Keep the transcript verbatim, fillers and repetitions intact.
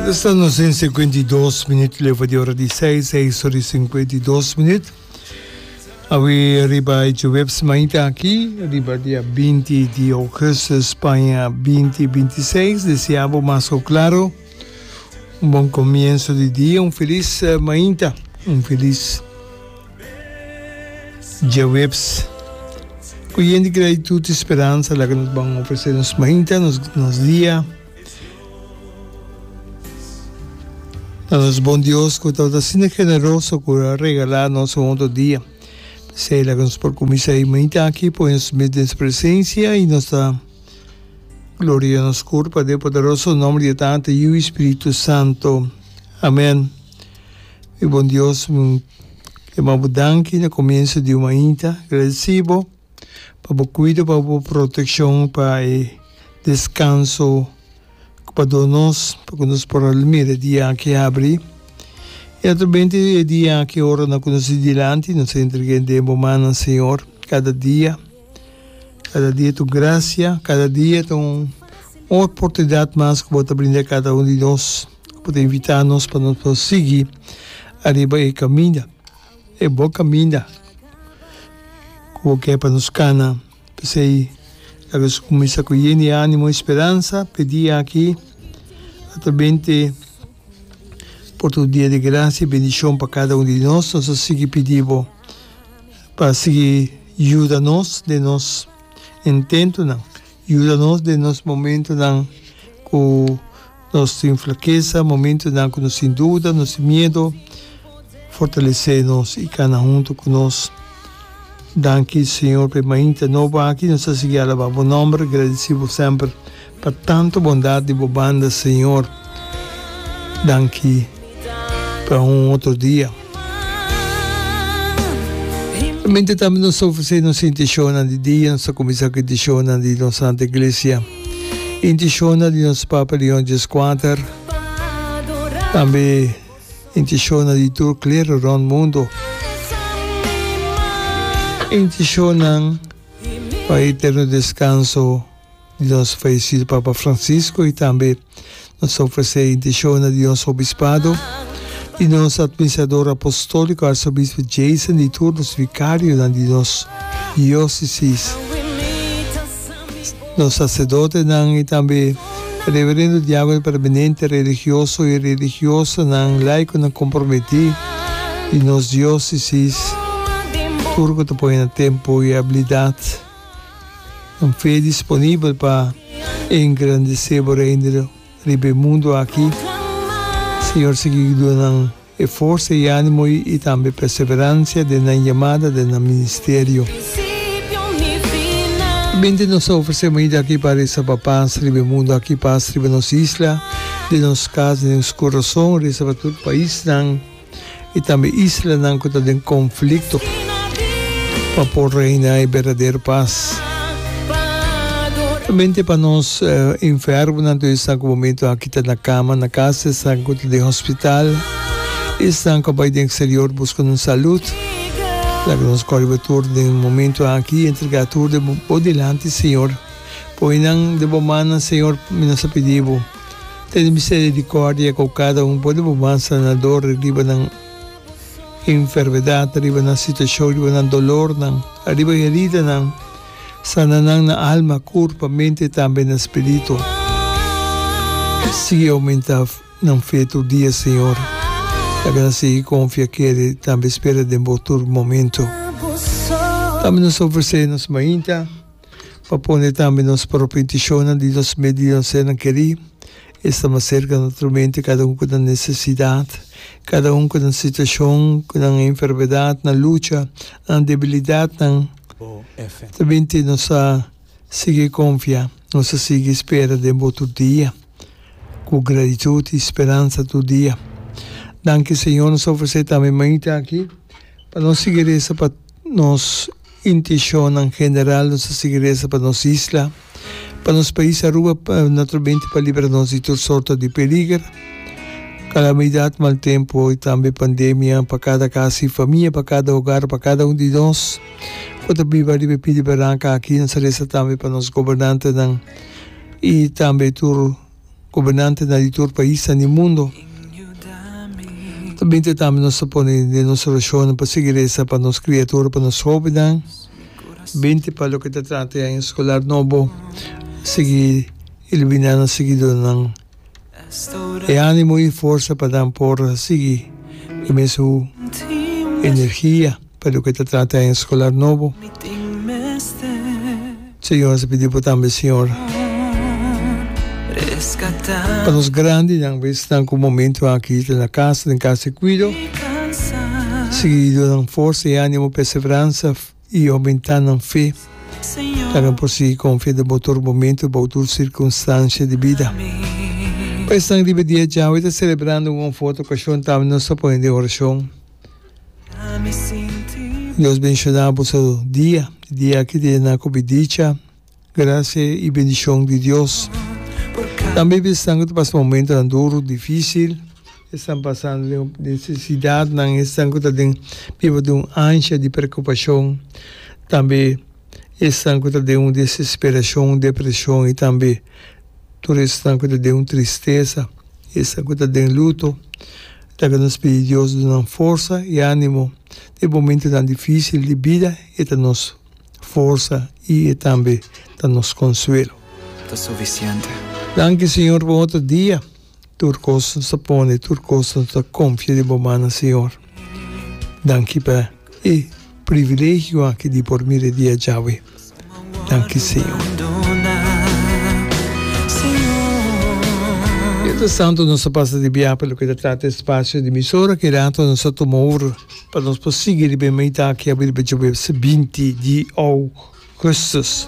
Esta nos den cincuenta y dos minuut leva di ora di seis, seis ora y cincuenta y dos minuut. Awe riba e djoweps mainta aki, riba dia binti di augustus paña binti binti seis, desea bo mas cu claro un bon comienzo di dia, un feliz mainta, un feliz djaweps. Cu yen di gratitud y speransa laga nos ban ofrece nos mainta, nos, nos dia. Na nos bon Dios cu tabata asina generoso cu a regala nos un otro dia. P'esey laga nos por cuminsa e mainta aki pone nos mes den su presencia y nos ta gloria nos curpa den poderoso nomber di e Tata, Yiu y Spiritu Santo. Amen. Mi bon Dios, mi yama bo danki na comienzo di un mainta. Agradeci bo pa bo cuido, pa bo proteccion, pa e descanso cu bo a duna nos, pa cu nos por a mira e dia aki habri. Y naturalmente e dia aki ora nan cu nos di dilanti, nos a entrega den bo mannan, Señor, cada dia. Cada dia ta un gracia, cada dia ta un oportunidad mas cu bo ta brinda cada un di nos. Bo ta invita nos pa nos por sigui ariba e caminda, e bo caminda cu bo ke pa nos cana. P'esey laga nos cuminsa cu yen di animo y speransa p'e dia aki atrabente por ta un dia di gracia y bendicion pa cada un di nos. Nos ta sigui pidi bo pa sigui yuda nos den nos intentonan, yuda nos den nos momentonan cu nos tin flakesa, momentonan ku nos tin duda, nos tin miedo, fortalesé nos i kana huntu ku nos. Danki, Señor, pa e mainta nobo aki. Nos ta sigui alabá Bo nòmber, gradisí Bo semper pa tantu bondat di Bo banda, Señor. Danki pa un otro dia. Mente tambe nos ta ofresé nos intishonnan di dia. Nos ta kuminsá ku intishonnan di nos Santa Iglesia. Intishonnan di nos Papa Leon Dieskuater. Tambe intishonnan di tur klero rònt mundu. Intishonnan pa eterno deskanso di nos fayesido Papa Francisco i tambe nos ta ofresé intishonnan di nos Obispado, di nos Administrador Apostóliko Arzobispo Jason di tur nos vikarionan di nos diósesis, nos saserdotenan i tambe reverendo, diákono permanente, religioso i religiosanan, laikonan komprometí di nos diósesis, tur ku ta pone nan tempu i abilidat. Un fe disponibel pa engrandesé bo Reino riba e mundu aki. Señor sigui duna nan e forsa i animo i tambe perseverancia den nan yamada, den nan ministerio. Bende nos ta ofresé mainta aki pa resa pa pas riba e mundu aki, pas riba nos isla, den nos kas, den nos kurason, resa pa tur paisnan. i tambe islanan ku ta den konflikto pa por reina e berdadero pas. Solamente pa nos enfermonan, tur esnan ku momento aki ta na kama na kas, esnan ku ta den hospital, esnan ku a bai den eksterior buska nan salud, laga nos kòrda riba tur den momento aki i entrega tur den bo dilanti, Señor. Poi nan den bo mannan, Señor, mi nos a pidi bo. Tene miserikòrdia ku kada un por di bo man sanador riba nan enfermedat, riba nan situashon, riba nan dolornan, riba heridanan. Sana nan na alma, kurpa, mente i tambe na spiritu. Sigui oumentá nan fe tur dia, Señor. Laga nan sigui konfia, kere i tambe spera den bo tur momentu. Tambe nos ta ofresé nos mainta. Pa pone tambe nos propio intishonnan di nos mes di nos sernan kerí. Esta mas serka naturalmente kada un ku nan nesesidat, kada un ku nan situashon, ku nan enfermedat, nan lucha, nan debilidatnan. Ta binti nos a sigui konfia, nos a sigui spera den bo tur dia, ku gratitut i speransa tur dia. Danki Señor, nos a ofresé tambe mainta aki pa nos sigui resa pa nos. Intishonnan general, nos ta sigui resa pa nos isla, pa nos pais Aruba, naturalmente pa libra nos di tur sorto di peliger, calamidad, mal tempo y tambe pandemia, pa cada cas y famia, pa cada hogar, pa cada un di nos cu ta biba riba e pidi baranca aki. Nos ta resa tambe pa nos gobernantenan y tambe tur. Gobernantenan di tur paisnan di mundo. Ta binti tambe nos ta pone den nos orashonnan pa sigui resa pa nos kriatura, pa nos hóbennan. Binti pa loke ta trata e aña eskolar nobo, sigui iluminá nan, sigui duna nan e ánimo i forsa pa nan por sigui e mesun energia pa loke ta trata e aña eskolar nobo. Señor, nos ta pidi bo tambe, Señor, pa nos grandinan, pa esnan ku momento aki ta na kas, den kas di kuido, sigui duna nan forsa i ánimo, perseveransa i oumentá nan fe, pa nan por sigui konfia den bo tur momento, bou tur sirkunstansia di bida. Pa esnan riba e dia djawe ta selebrando un of otro okashon, tambe nos ta pone den orashon. Dios bendiciona boso dia, e dia aki ta yena cu bidicha, gracia y bendicion di Dios. Tambe esnan cu ta pasa momentonan duro, dificil, esnan pasando den necesidadnan, esnan cu ta den biba den un ansha di preocupacion, tambe esnan cu ta den un desesperacion, depresion y tambe tur esnan cu ta den un tristeza, esnan cu ta den luto. Laga nos pidi Dios duna nan forsa i ánimo den momentunan difísil di bida. E ta nos forsa i e tambe ta nos konsuelo. Ta sufisiente. Danki Señor pa un otro dia. Tur kos nos ta pone, tur kos nos ta konfia den bo mannan Señor. Danki pa e privilegio aki di por mira e dia djawe. Danki Señor. Mientras tanto nos ta pasa di biaha pa loke ta trata espacio di emisora ki rato nos ta tuma over pa nos por sigui riba e meta aki awe riba djaweps binti di augustus.